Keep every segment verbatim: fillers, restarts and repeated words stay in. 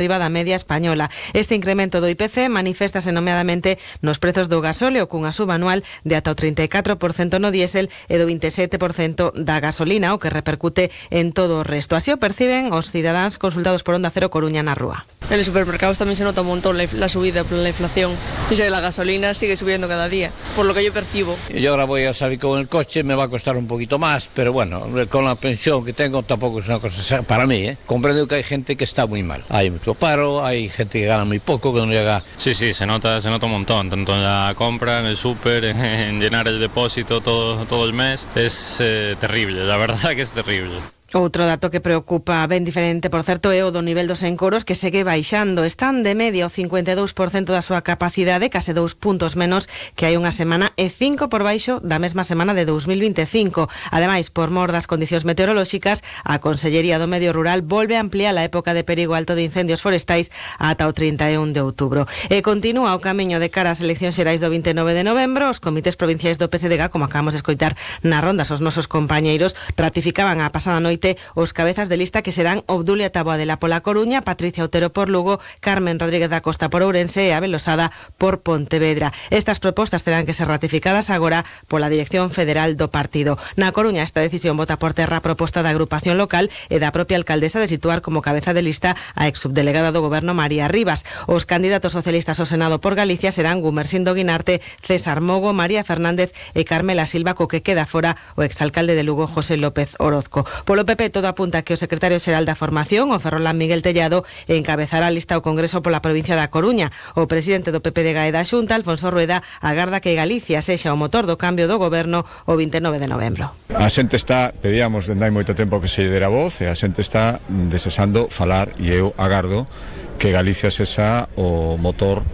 riba da media española. Este incremento do I P C maniféstase nomeadamente nos prezos do gasóleo cunha suba anual de ata o trinta e catro por cento no diésel e do vinte e sete por cento da gasolina, o que repercute en todo o resto. Así o perciben os cidadáns consultados por Onda Cero Coruña na rúa. En los supermercados también se nota un montón la, la subida por la inflación. Dice que la gasolina sigue subiendo cada día, por lo que yo percibo. Yo ahora voy a salir con el coche, me va a costar un poquito más, pero bueno, con la pensión que tengo tampoco es una cosa para mí, ¿eh? Comprendo que hay gente que está muy mal. Hay mucho paro, hay gente que gana muy poco, que no llega... Sí, sí, se nota, se nota un montón, tanto en la compra, en el súper, en, en llenar el depósito todo, todo el mes. Es eh, terrible, la verdad que es terrible. Outro dato que preocupa ben diferente, por certo, é o do nivel dos encoros, que segue baixando. Están de media o cincuenta e dous por cento da súa capacidade, case dous puntos menos que hai unha semana e cinco por baixo da mesma semana de dous mil vinte e cinco. Ademais, por mor das condicións meteorolóxicas, a Consellería do Medio Rural volve a ampliar a época de perigo alto de incendios forestais ata o trinta e un de outubro. E continúa o camiño de cara ás eleccións xerais do vinte e nove de novembro. Os comités provinciais do P S D G, como acabamos de escoitar nas rondas, os nosos compañeiros ratificaban a pasada noite os cabezas de lista que serán Obdulia Taboadela pola Coruña, Patricia Otero por Lugo, Carmen Rodríguez da Costa por Ourense e Abel Losada por Pontevedra. Estas propostas terán que ser ratificadas agora pola Dirección Federal do partido. Na Coruña, esta decisión bota por terra a proposta da agrupación local e da propia alcaldesa de situar como cabeza de lista a exsubdelegada do Goberno María Rivas. Os candidatos socialistas ao Senado por Galicia serán Gumersindo Guinarte, César Mogo, María Fernández e Carmela Silva, co que queda fora o exalcalde de Lugo, José López Orozco. Polo P P, todo apunta que o secretario xeral da Formación, o Ferrolán Miguel Tellado, encabezará a lista ao Congreso pola provincia da Coruña. O presidente do P P de G A E da Xunta, Alfonso Rueda, agarda que Galicia sexa o motor do cambio do goberno o vinte e nove de novembro. A xente está, pedíamos dende hai moito tempo que se lle dera voz, e a xente está desexando falar, e eu agardo que Galicia sexa o motor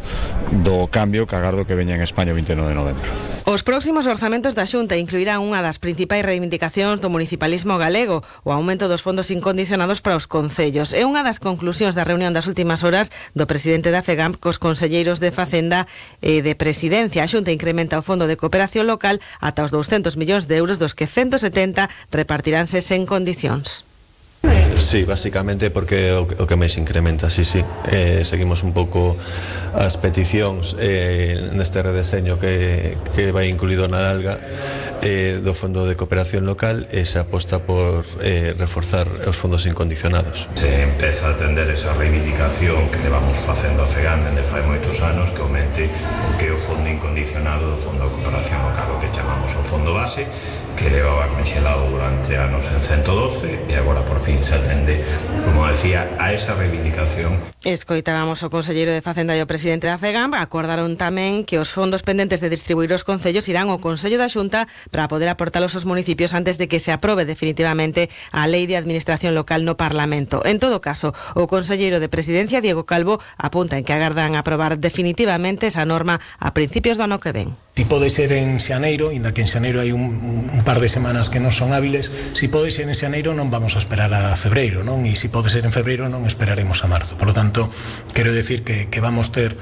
do cambio que agardo que veña en España o vinte e nove de novembro. Os próximos orzamentos da Xunta incluirán unha das principais reivindicacións do municipalismo galego, o aumento dos fondos incondicionados para os concellos. É unha das conclusións da reunión das últimas horas do presidente da FEGAMP cos conselleiros de Facenda e de Presidencia. A Xunta incrementa o fondo de cooperación local ata os douscentos millóns de euros, dos que ciento setenta repartiránse sen condicións. Sí, básicamente porque o, o que máis incrementa, sí, sí. Eh, seguimos un pouco as peticións eh, neste redeseño que, que vai incluído na alga eh, do Fondo de Cooperación Local, e se aposta por eh, reforzar os fondos incondicionados. Se empeza a atender esa reivindicación que levamos facendo a FEGAM dende fai moitos anos, que aumente o que é o fondo incondicionado do Fondo de Cooperación Local, o que chamamos o fondo base, que levaba conxelado durante anos en ciento doce, e agora por fin se atende, como decía, a esa reivindicación. Escoitábamos o conselleiro de Facenda e o presidente da FEGAM. Acordaron tamén que os fondos pendentes de distribuir os concellos irán ao Consello da Xunta para poder aportalos aos municipios antes de que se aprobe definitivamente a Lei de Administración Local no Parlamento. En todo caso, o conselleiro de Presidencia, Diego Calvo, apunta en que agardan aprobar definitivamente esa norma a principios do ano que ven. Si pode ser en xaneiro, inda que en xaneiro hai un, un par de semanas que non son hábiles, si pode ser en xaneiro non vamos a esperar a febreiro, non? E si pode ser en febreiro non esperaremos a marzo. Por lo tanto, quero decir que, que vamos ter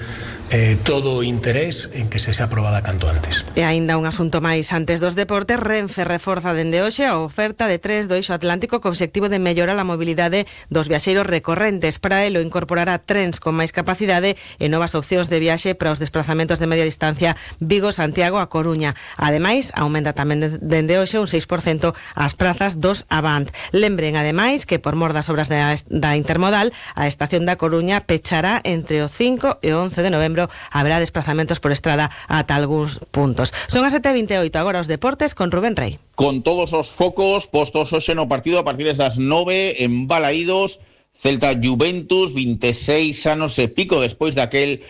eh, todo o interés en que se xa aprobada canto antes. E aínda un asunto máis antes dos deportes. Renfe reforza dende hoxe a oferta de tres do eixo atlántico co obxectivo de mellorar a mobilidade dos viaxeiros recorrentes. Para elo incorporará trens con máis capacidade e novas opcións de viaxe para os desplazamentos de media distancia Vigo-Santiago a Coruña. Ademais, aumenta tamén dende hoxe un seis por cento as prazas dos Avant. Lembren, ademais, que por mor das obras da, da Intermodal, a estación da Coruña pechará entre o cinco e o once de novembro. Haberá desplazamentos por estrada ata algúns puntos. Son as sete e vinte e oito, agora os deportes con Rubén Rey. Con todos os focos postos hoxe no partido a partir das nove en Balaídos, Celta Juventus, vinte e seis anos e pico despois daquel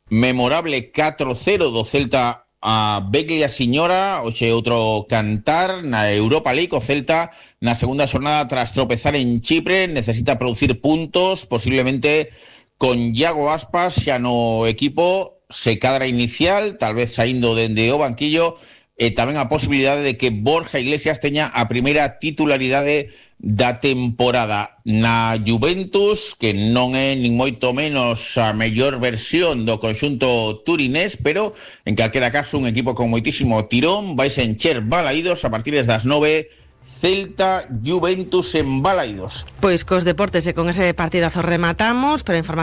memorable catro cero do Celta a Beglia Siñora. Hoxe outro cantar na Europa League. O Celta na segunda xornada, tras tropezar en Chipre, necesita producir puntos, posiblemente con Iago Aspas xa no equipo, se cadra inicial, tal vez saindo dende o banquillo, e tamén a posibilidade de que Borja Iglesias teña a primeira titularidade da temporada. Na Juventus, que non é nin moito menos a mellor versión do conxunto turinés, pero en calquera caso un equipo con moitísimo tirón. Vais a encher Balaídos a partir das nove, Celta Juventus en Balaídos. Pois cos deportes e con ese partidazo rematamos, pero a información